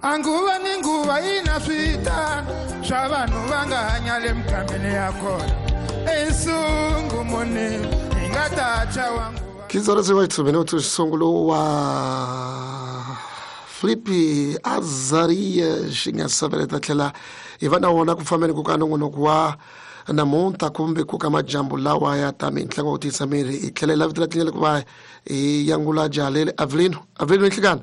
Anguva ni nguva yi na switano swa vanhu va nga hanya le mugangeni ya kona esungumuni hi nga ta tshwa wa nguva 15 horas e 8 minutos, songulo wa Felipe Azarias xi nga saveleta tlhela hi va na wona ku fambeni ku ka nongonoko wa namuntlha kumbe ku ka majambu lawa ya ta mintlangu wa ku tiyisa miri hi tlhela hi lavitela tindlela ku va hi yangula jahalele Avelino Avelino nhlikani.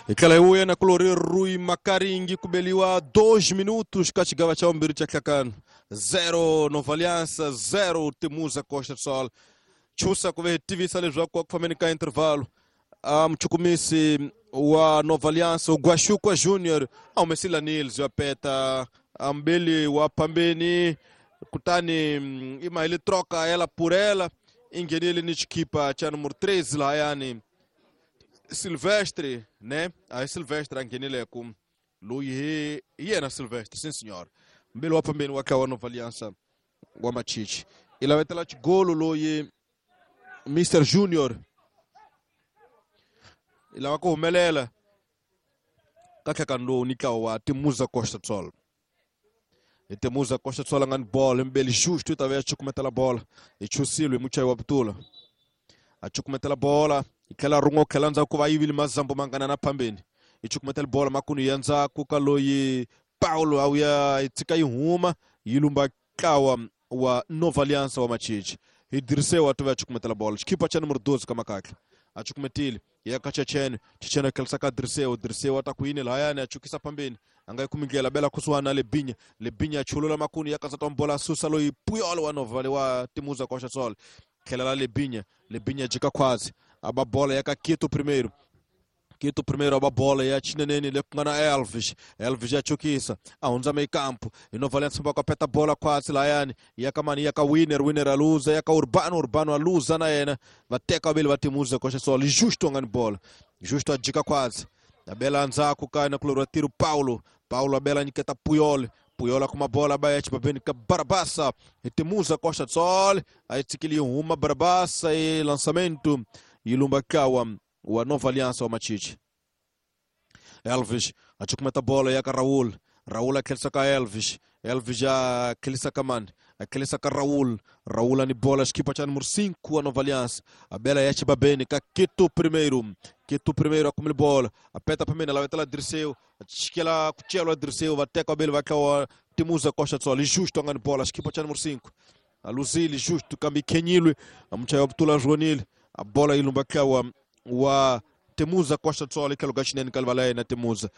Hi tlhela hi vuya na kulori Rui Makaringi ku beliwa 2 minutos ka xigava xa vumbirhi xa hlakano 0 Nova Aliança 0 Temuza Costa do Sol. Chusa ku ve hi tivisa leswaku ku fambeni ka intervalo a muchukumisi wa Nova Aliança Guaxukwa Junior a humesile Nils ya peta ambeli wa phambeni kutani i mahile troca ela por ela i nghenile ni xikipa xa numero 3 lahayani Silvestre, né? Aí Silvestre a nghenile ku loyi hi yena Silvestre, sim senhor. Mbili wa phambeni wa wa Nova Aliança wa Machichi i lavetela xigolo loyi Mr Junior i lava ku humelela ka tlhekano lowu ni ntlawa wa Temuza Costa do Sol. Hi Temuza Costa do Sol a nga ni bolo mbeli justo i ta ve ya cukumetela bola hi chusile hi muchayi wa butula a cukumetela bola hi tlhela rin'we tlhela ndzhaku ku va yivile mazambu mangana na phambeni hi cukumetela bola makunu ya ndzhaku ka loyi Paulo a wuya yi tshika yi huma yi lumba ntlawa wa Nova Aliança wa Machichi hi Dirceu a tiva ya cukumetela bola xikipa xa numero 12 ka makakla a cukumetile ya ka Chechene Chechene a khelisa ka Dirceu Dirceu a ta ku yini lahayani a chukisa phambeni a nga yi kumi ndlela bela kusuhani na Lebinya Lebinya a chulula makunu ya kasata wa bola a susa loyi Puyol wa Nova wa Temuza Costa do Sol tlhela la Lebinya Lebinya jika khwazi a ba bola ya ka Quito primeiro Quito primeiro a ba bola ya xineneni le ku nga na Elvis Elvis ya chukisa a hundza meyikampu hi Nova Aliança va peta bola khwatsi lahayani ya ka mani ya ka Winner Winner a luza ya ka Urbano Urbano a luza na yena va teka vavili va Temuza Costa do Sol Justo a nga ni bola Justo a jika khwatsi a bela ndzhaku ka na kulori wa tiro Paulo Paulo a bela nyiketa Puyol Puyol a kuma bola ba ya xibabeni ka Barabasa hi Temuza Costa do Sol a yi tshikile yi huma Barabasa i lançamento yi lumba ntlawa wa Nova Aliança wa Machichi. Elvis a cukumeta bola ya ka Raul Raul a tlherisa ka Elvis Elvis a tlherisa ka mani a tlherisa ka Raul Raul ani bola xikipa xa numero 5 wa Nova Aliança a bela ya xibabeni ka Quito primeiro Quito primeiro a kumile bola a peta phambeni a lavetela Dirceu a chikela ku celwa Dirceu va teka vavili va tlawa Temuza Costa do Sol Justo a nga ni bola xikipa xa numero 5 a luzile Justo kambe yi khenyilwe a muchayi wa butula ronile a bola yi lumba tlawa wa Temuza Costa do Sol tlhelo ka xinene ka livala ya yena Temuza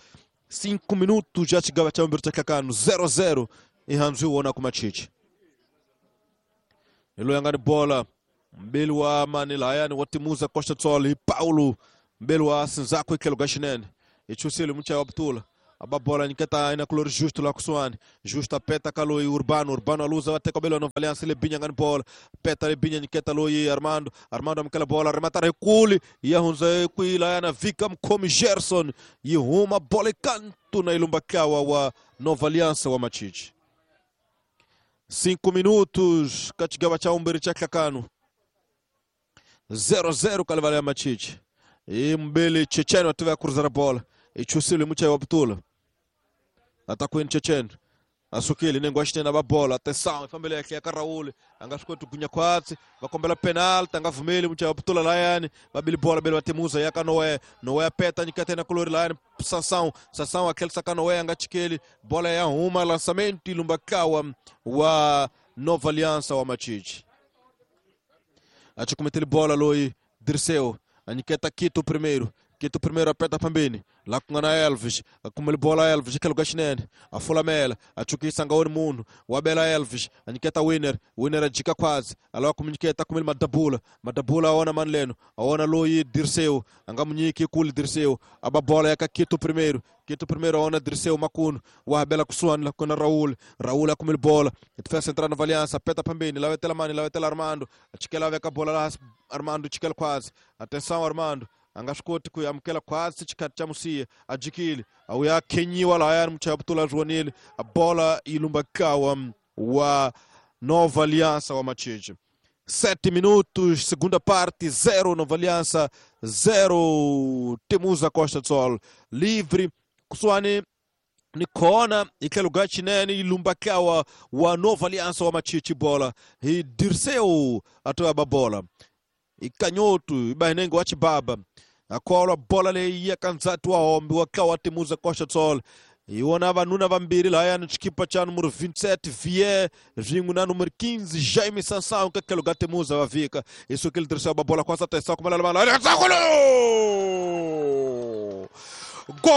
5 minutos já xigava xa vumbirhi xa hlakano 0-0 i handzu hi wona ku Machichi hi loyi a nga ni bola mbeli wa mani lahayani wa Temuza Costa do Sol hi Paulo mbeli wa Sinzaku hi tlhelo ka xinene hi chusile muchayi wa butula a ba bola nyiketa ina kulori Justo la kusuhani Justo a peta ka loyi Urbano Urbano a luza va teka belo Nova Aliança Lebinya nga ni bola peta Lebinya nyiketa loyi Armando Armando amukela bola remata ri kuli ya hundza kwihi lahayana vika mukhomi Gerson yi huma bola ekantu na yi lumba ntlawa wa Nova Aliança wa Machichi 5 minutos ka xigava xa vumbirhi xa hlakano 0-0 ka livala ya Machichi hi mbeli Chechene wa tiva ya kuruzela bola i chusile muchayi wa butula ata kwini Chechene a sukile nengo wa xinene va bola atenção i fambele ehenhla ya ka Raul a nga swi koti ku gunya khwatsi va kombela penalty a nga vumeli muchayi wa butula layani va bile bola bele va Temuza ya ka Noé Noé a peta nyiketa yena kulori layani Sansão Sansão a tlherisa ka Noé a nga chikeli bola ya huma lançamento yi lumba ntlawa wa Nova Aliança wa Machichi a cukumetele bola loyi Dirceu a nyiketa Quito primeiro Quito primeiro a peta phambeni la ku nga na Elvis a kumele bola Elvis tlhelo ka xinene a fulamela a chukisa nga woni munhu wa bela Elvis a nyiketa Winner Winner a jika khwazi a lava ku mu nyiketa kumele Madabula Madabula a wona mani leno a wona loyi Dirceu a nga mu nyiki kule Dirceu a ba bola ya ka Quito primeiro Quito primeiro a wona Dirceu makunu wa bela kusuhani la ku na Raul Raul a kumele bola defesa central Nova Aliança peta phambeni lavetela mani lavetela Armando a chikela veka bola laha Armando chikela khwazi atenção Armando a nga swi koti ku amukela khwatsi xikhathi xa musiya a jikile a wuya khenyiwa lahayani muchayi wa butula ronile a bola yi lumba ntlawa wa Nova Aliança wa Machichi. 7 minutos, segunda parte, 0 Nova Aliança, 0 Temuza Costa do Sol. Livre, kusuhani ni kona hi tlhelo ka xinene yi lumba ntlawa wa Nova Aliança wa Machichi bola hi Dirceu a to ya ba bola hi Kanyotu hi Bahinenge wa Chibaba a kholwa bola leyi ya ka ndzati wa hombi wa ntlawa wa Temuza Costa do Sol. Hi wona vanuna vambirhi lahayani xikipa xa numero 27 Vie swin'we na numero 15 Jaime Sansão ka tlhelo ka Temuza va vika hi sukile Dirceu ba bola kwasa tesa kumalala gol.